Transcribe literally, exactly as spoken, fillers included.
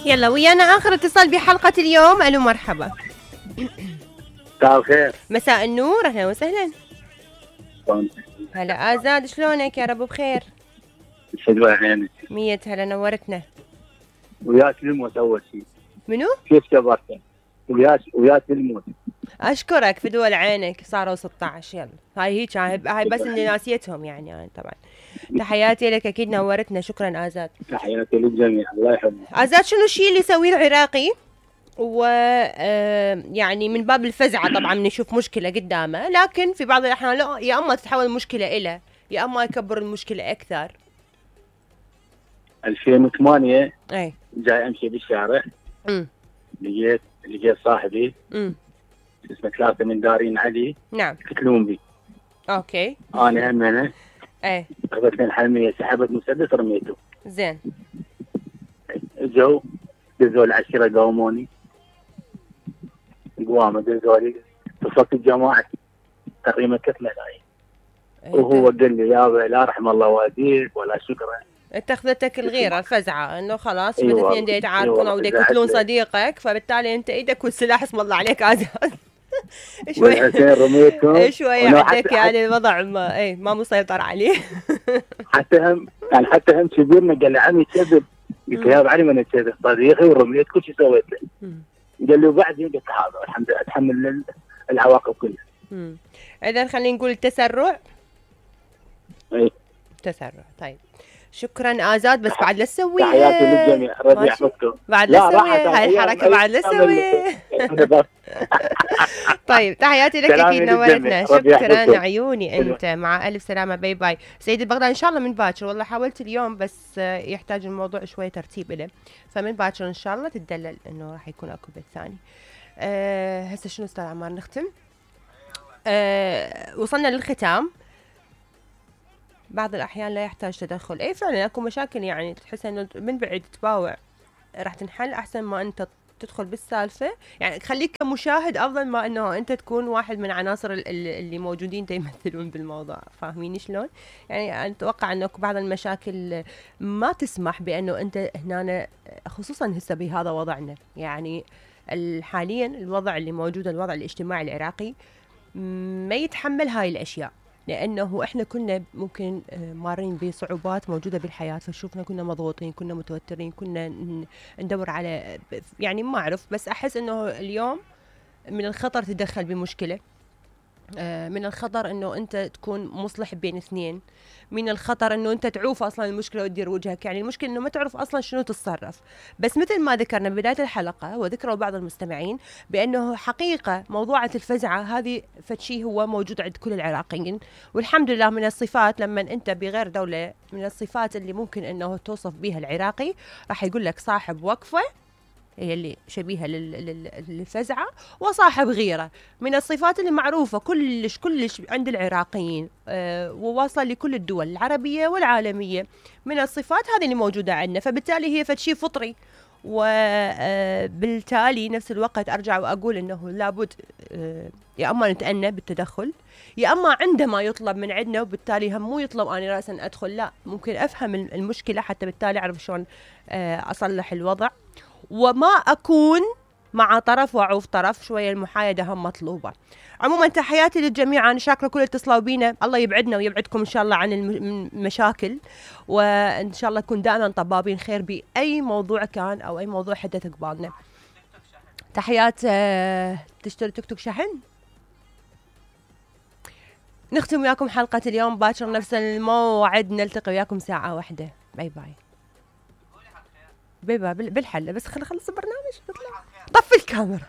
يلا ويانا آخر اتصال بحلقة اليوم. ألو مرحبا. مساء الخير. مساء النور، أهلا وسهلا. هلا آزاد، شلونك؟ يا رب بخير. شلون عينك؟ مية هلا، نورتنا. وياك الموت أول شيء. منو؟ كيف كبرت؟ وياك وياك الموت. أشكرك في دول عينك، صاروا ستة عشر. يلا هاي هيك، هاي بس إني ناسيتهم يعني, يعني طبعا. تحياتي لك، أكيد نورتنا. شكرا آزاد. تحياتي للجميع، الله يحفظك. آزاد، شنو الشيء اللي يسويه العراقي و يعني من باب الفزعة طبعا نشوف مشكلة قدامه، لكن في بعض الأحيان لا، يا أما تتحول المشكلة إلى يا أما يكبر المشكلة أكثر. ألفين وثمانية أي جاي أمشي بالشارع، امم لقيت لقيت صاحبي امم اسمه ثلاثة من دارين علي. نعم. يقتلون بي. أوكي. أنا هم أنا. أي. أخذتني الحرمية، سحبت مسدس رميته. زين. جو دزوا العشرة قاوموني. قوامة دزوا لي، اتصلت الجماعة تقريبا ثلاث ملايين. وهو قال لي يابا لا رحم الله والديك ولا شكرا. اتخذتك الغيرة الفزعة انه خلاص أيوة الاثنين دي يتعاركون او دي يقتلون صديقك، فبالتالي انت ايدك والسلاح اسم الله عليك آزاد. شوي رميتهم شوي عندك يعني الوضع ما اي ما مسيطر عليه. حتى هم يعني حتى هم كبيرنا قال لي عمي كذب. قلت له يا علي من كذب صديقي ورميت كل شيء سويت له. قال لي وبعدين قلت هذا الحمد لله اتحمل العواقب كلها. اذا خلينا نقول التسرع. اي تسرع. طيب شكرا آزاد، بس بعد لا تسويها. تحياتي للجميع، ربي يحفظكم. بعد لا تسويها هاي الحركة، بعد لا تسويها. طيب تحياتي لك، اكيد نورتنا. شكرا عيوني انت، مع الف سلامة. باي باي سيد البغداد. ان شاء الله من باكر، والله حاولت اليوم بس يحتاج الموضوع شوية ترتيب له، فمن باكر ان شاء الله تدلل انه راح يكون اكو بث ثاني. أه هسه شنو استاذ عمار نختم؟ أه وصلنا للختام. بعض الأحيان لا يحتاج تدخل. أي فعلا أكو مشاكل يعني تحس إنه من بعيد تباوع راح تنحل أحسن ما أنت تدخل بالسالفة. يعني خليك كمشاهد أفضل ما إنه أنت تكون واحد من عناصر اللي موجودين يمثلون بالموضوع. فاهميني شلون؟ يعني أتوقع إنه بعض المشاكل ما تسمح بأنه أنت هنا، خصوصا هسه بهذا وضعنا يعني حاليا الوضع اللي موجود، الوضع الاجتماعي العراقي ما يتحمل هاي الأشياء، لأنه إحنا كنا ممكن مارين بصعوبات موجودة بالحياة، فشوفنا كنا مضغوطين، كنا متوترين، كنا ندور على يعني ما أعرف، بس أحس إنه اليوم من الخطر تدخل بمشكلة، من الخطر إنه أنت تكون مصلح بين اثنين، من الخطر إنه أنت تعوف أصلاً المشكلة وتدير وجهك. يعني المشكلة إنه ما تعرف أصلاً شنو تتصرف. بس مثل ما ذكرنا بداية الحلقة وذكروا بعض المستمعين بأنه حقيقة موضوعة الفزعة هذه فشي هو موجود عند كل العراقيين، والحمد لله من الصفات لما أنت بغير دولة، من الصفات اللي ممكن إنه توصف بها العراقي راح يقول لك صاحب وقفة هي اللي شبيهة للفزعة، وصاحب غيرة، من الصفات اللي معروفة كلش كلش عند العراقيين أه وواصلة لكل الدول العربية والعالمية. من الصفات هذه اللي موجودة عندنا، فبالتالي هي فشي فطري، وبالتالي نفس الوقت أرجع وأقول إنه لابد أه يا أما نتأنى بالتدخل، يا أما عندما يطلب من عندنا وبالتالي هم مو يطلب أنا رأسا أدخل، لا ممكن أفهم المشكلة حتى بالتالي أعرف شلون أه أصلح الوضع، وما أكون مع طرف وأعوف طرف. شوية المحايدة هم مطلوبة. عموما تحياتي للجميع، أنا شاكرة كل اتصلوا بينا، الله يبعدنا ويبعدكم إن شاء الله عن المشاكل، وإن شاء الله نكون دائما طبابين خير بأي موضوع كان أو أي موضوع حدث قبالنا. تحيات. تشتري توك توك شحن. نختم وياكم حلقة اليوم باكر نفس الموعد، نلتقي وياكم ساعة واحدة. باي باي. بيبا بالحلة، بس خل خلص البرنامج. طفي الكاميرا.